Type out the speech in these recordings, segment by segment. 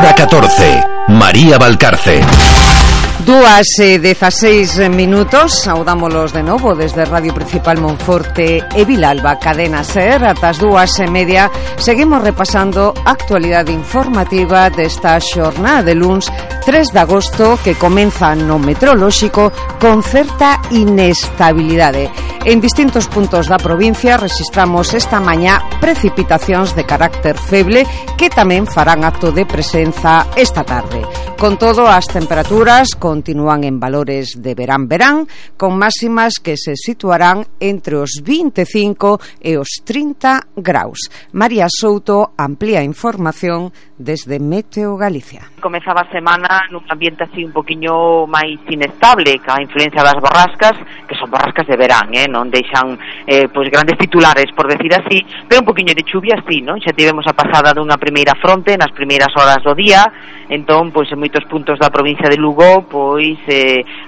Hora 14. María Valcarce. 2:16. Saudámolos de novo desde Radio Principal Monforte e Vilalba, Cadena SER. Atas 2:30 seguimos repasando a actualidade informativa desta xornada de luns 3 de agosto, que comeza no meteorolóxico con certa inestabilidade. En distintos puntos da provincia registramos esta mañá precipitacións de carácter feble que tamén farán acto de presenza esta tarde. Con todo, as temperaturas continúan en valores de verán, con máximas que se situarán entre os 25 e os 30 graus. María Souto amplía información desde Meteo Galicia. Comezaba a semana nun ambiente así un poquinho máis inestable, ca influencia das borrascas, que son borrascas de verán, non deixan pois grandes titulares, por decir así, pero un poquinho de chuvia sí, non? Xa tivemos a pasada dunha primeira fronte nas primeiras horas do día, entón, pois en moitos puntos da provincia de Lugo, pois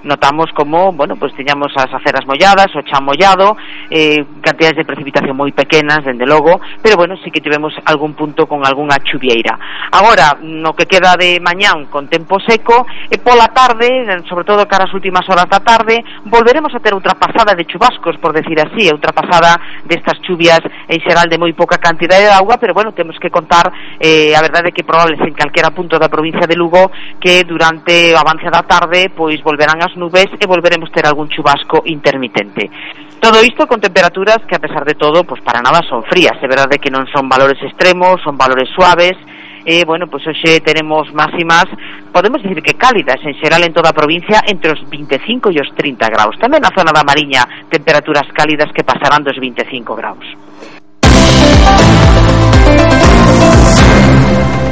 notamos como, bueno, pois teñamos as aceras molladas, o chan mollado, cantidades de precipitación moi pequenas, dende logo, pero bueno, sí que tivemos algún punto con algunha chuvieira. Agora, no que queda de mañán con tempo seco, e pola tarde, sobre todo cara as últimas horas da tarde, volveremos a ter outra pasada de chubascos, por decir así, outra pasada destas chuvias en xeral de moi pouca cantidade de agua, pero bueno, temos que contar, a verdade é que probables en calquera punto da provincia de Lugo que durante o avance da tarde pois volverán as nubes e volveremos ter algún chubasco intermitente. Todo isto con temperaturas que, a pesar de todo, pois para nada son frías. É verdade que non son valores extremos, son valores suaves. Bueno, pois hoxe tenemos máximas, podemos dicir que cálidas en xeral en toda a provincia, entre os 25 e os 30 graus. Tamén na zona da Mariña, temperaturas cálidas que pasarán dos 25 graus.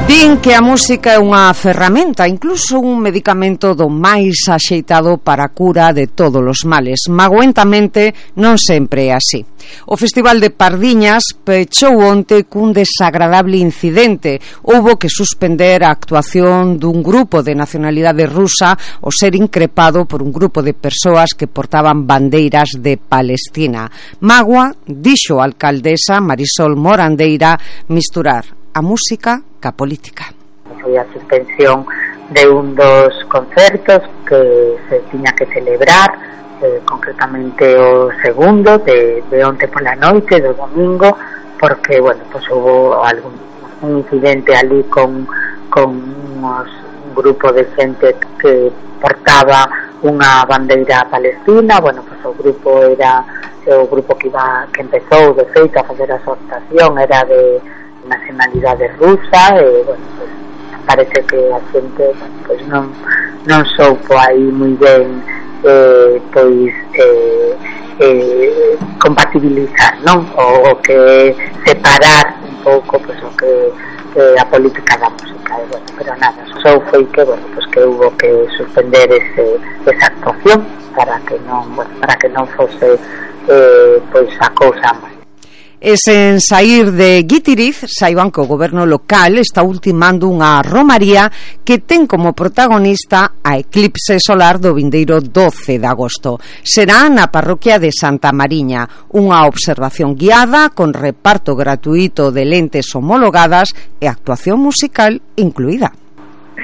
Din que a música é unha ferramenta, incluso un medicamento do máis axeitado para a cura de todos os males. Magoentamente non sempre é así. O Festival de Pardiñas pechou onte cun desagradable incidente. Houbo que suspender a actuación dun grupo de nacionalidade rusa ao ser increpado por un grupo de persoas que portaban bandeiras de Palestina. Magua, dixo a alcaldesa Marisol Morandeira, misturar a música ca política. Foi a suspensión de un dos concertos que se tiña que celebrar, concretamente o segundo de onte pola noite, do domingo, porque, bueno, pues hubo un incidente ali con un grupo de xente que portaba unha bandeira palestina. Bueno, pues o grupo que empezou de feito a facer a exhortación era de nacionalidade rusa, e bueno, pues parece que a xente pues non soupo aí moi ben compatibilizar, non? O que separar un pouco pues o que a política da música, e bueno, pero nada, só foi que, bueno, pues que hubo que suspender esa actuación para que non fose pois a cousa máis. E sen saír de Guitiriz, saiban que o goberno local está ultimando unha romaría que ten como protagonista a eclipse solar do vindeiro 12 de agosto. Será na parroquia de Santa Mariña, unha observación guiada con reparto gratuito de lentes homologadas e actuación musical incluída.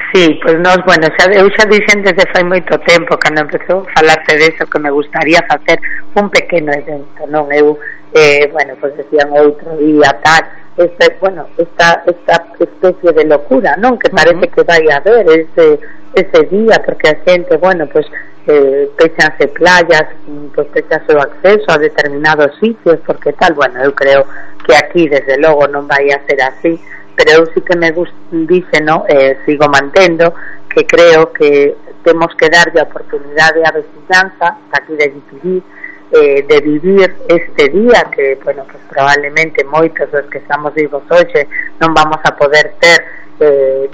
Sí, pues bueno, eu xa dixen desde fai moito tempo, cando empezou a falarse de eso, que me gustaría facer un pequeno evento, non? Eu bueno, pues decían outro día tal, esta especie de locura, non? Que parece que vai a haber ese día, porque a xente, bueno, pues pechanse playas, pues pechanse o acceso a determinados sitios, porque tal, bueno, eu creo que aquí desde logo non vai a ser así, pero eu sí que me dice, no, sigo mantendo que creo que temos que darlle a oportunidade á veciñanza aquí de Guitiriz, de vivir este día que, bueno, pues probablemente moitos dos que estamos vivos hoxe non vamos a poder ter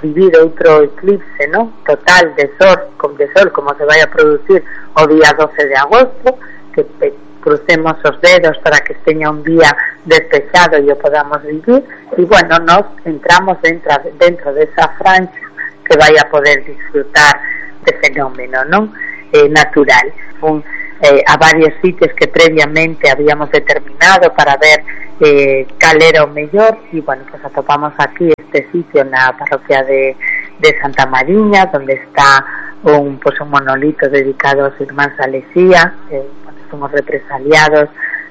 vivir outro eclipse, ¿no? Total de sol como se vai a producir o día 12 de agosto, que crucemos os dedos para que esteña un día despexado e o podamos vivir, e bueno, nos entramos dentro desa franxa que vai a poder disfrutar de fenómeno, non? Natural. A varios sitios que previamente habíamos determinado para ver cal era o mellor, e bueno, pues atopamos aquí este sitio na parroquia de de Santa Mariña, donde está un monolito dedicado aos irmáns Alexía, somos represaliados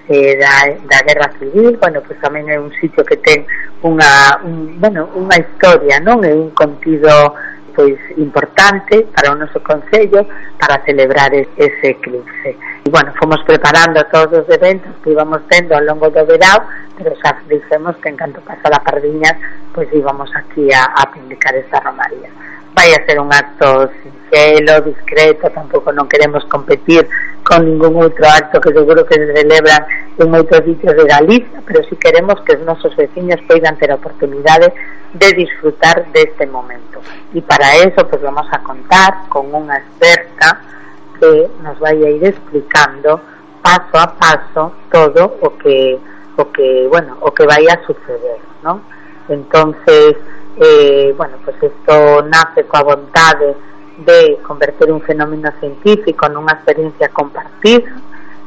da Guerra Civil. Pues tamén é un sitio que ten unha historia, non? É un contido pois importante para o noso concello para celebrar ese eclipse. E fomos preparando todos os eventos que íbamos tendo ao longo do verão, pero xa dixemos que en canto pasara Pardiñas, pois íbamos aquí a publicar esta romaría. Vai a ser un acto sinxelo, discreto, tampouco non queremos competir con ningún outro acto que seguro que se celebran en outros sitios de Galicia, pero si queremos que os nosos veciños poidan ter a oportunidade de disfrutar deste momento. E para eso pues vamos a contar con unha experta que nos vai a ir explicando paso a paso todo o que vai a suceder, ¿no? Entonces pues esto nace coa vontade de converter un fenómeno científico nunha experiencia compartida,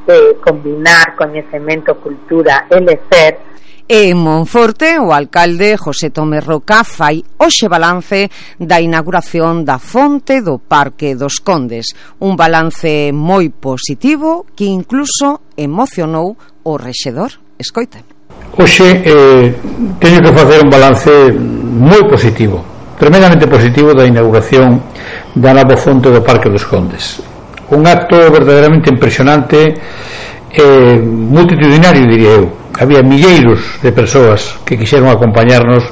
de combinar coñecemento, cultura e lecer. En Monforte, o alcalde José Tomé Roca fai hoxe balance da inauguración da fonte do Parque dos Condes, un balance moi positivo que incluso emocionou o rexedor. Escoita. Hoxe teño que facer un balance moi positivo, tremendamente positivo, da inauguración da nova fonte do Parque dos Condes. Un acto verdadeiramente impresionante, multitudinario, diría eu. Había milleiros de persoas que quixeron acompañarnos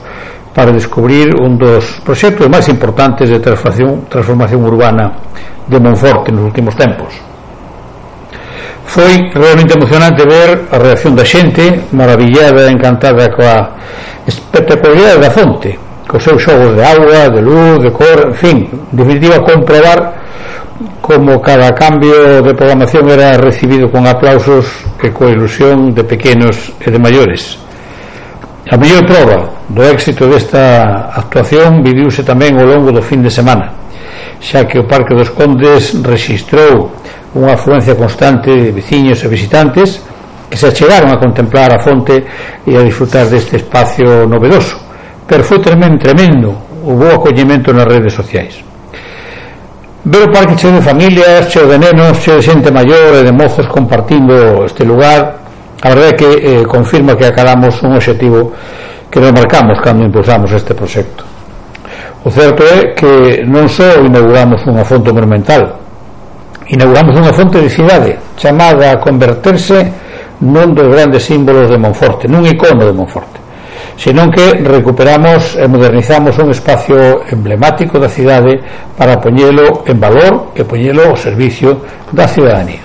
para descubrir un dos proxectos máis importantes de transformación urbana de Monforte nos últimos tempos. Foi realmente emocionante ver a reacción da xente, maravillada e encantada coa espectacularidade da fonte, cos seus xogos de auga, de luz, de cor, en fin, en definitiva, comprobar como cada cambio de programación era recibido con aplausos e coa ilusión de pequenos e de maiores. A mellor prova do éxito desta actuación viviuse tamén ao longo do fin de semana, xa que o Parque dos Condes rexistrou unha afluencia constante de veciños e visitantes que se achegaron a contemplar a fonte e a disfrutar deste espacio novedoso, pero foi tremendo o bo acollemento nas redes sociais. Ver o parque cheo de familias, cheo de nenos, cheo de xente maior e de mozos compartindo este lugar, a verdade é que confirma que acabamos un obxectivo que nos marcamos cando impulsamos este proxecto. O certo é que non só inauguramos unha fonte monumental, inauguramos unha fonte de cidade chamada a converterse nun dos grandes símbolos de Monforte, nun icono de Monforte, senón que recuperamos e modernizamos un espacio emblemático da cidade para poñelo en valor e poñelo ao servicio da ciudadanía.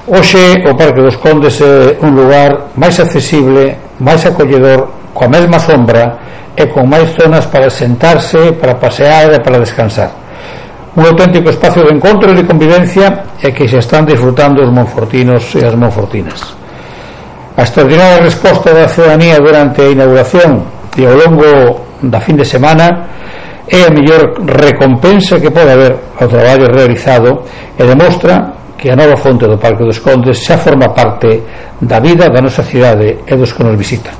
Hoxe o Parque dos Condes é un lugar máis accesible, máis acolledor, coa mesma sombra e con máis zonas para sentarse, para pasear e para descansar. Un auténtico espacio de encontro e de convivencia e que se están disfrutando os monfortinos e as monfortinas. A extraordinaria resposta da ciudadanía durante a inauguración e ao longo da fin de semana é a mellor recompensa que pode haber ao traballo realizado e demostra que a nova fonte do Parque dos Condes xa forma parte da vida da nosa cidade e dos que nos visitan.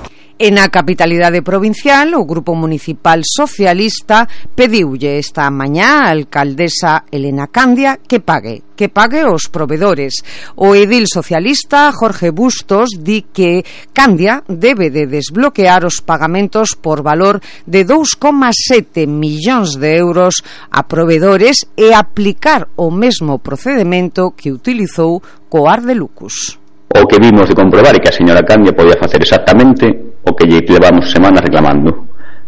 En a capitalidade provincial, o Grupo Municipal Socialista pediulle esta mañá a alcaldesa Elena Candia que pague os provedores. O edil socialista Jorge Bustos di que Candia debe de desbloquear os pagamentos por valor de 2,7 millóns de euros a provedores e aplicar o mesmo procedemento que utilizou co Arde Lucus. O que vimos de comprobar é que a señora Candia podía facer exactamente o que lle levamos semanas reclamando,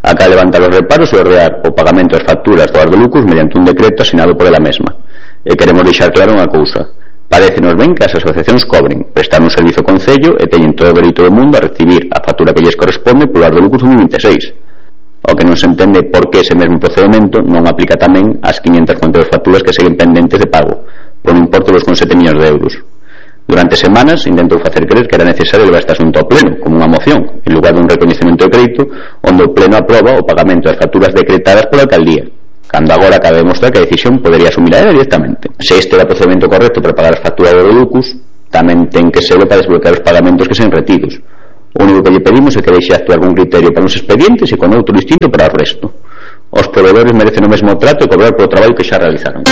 acá levantar os reparos e ordear o pagamento das facturas do Arde Lucus mediante un decreto asinado por ela mesma. E queremos deixar claro unha cousa: parécenos ben que as asociacións cobren, prestar un servizo ao concello e teñen todo o dereito do mundo a recibir a factura que lles corresponde polo Arde Lucus 2026. O que non se entende por que ese mesmo procedimento non aplica tamén ás 542 facturas que seguen pendentes de pago por un importe de 2,7 millóns de euros. Durante semanas intentou facer creer que era necesario levar este asunto ao pleno como unha moción en lugar dun recoñecemento de crédito onde o pleno aproba o pagamento das facturas decretadas pola alcaldía, cando agora acaba de demostrar que a decisión podería asumir a ela directamente. Se este era o procedimento correcto para pagar as facturas do Lucus, tamén ten que serlo para desbloquear os pagamentos que sean retidos. O único que lle pedimos é que deixe actuar con criterio para uns expedientes e con outro distinto para o resto. Os proveedores merecen o mesmo trato e cobrar polo traballo que xa realizaron.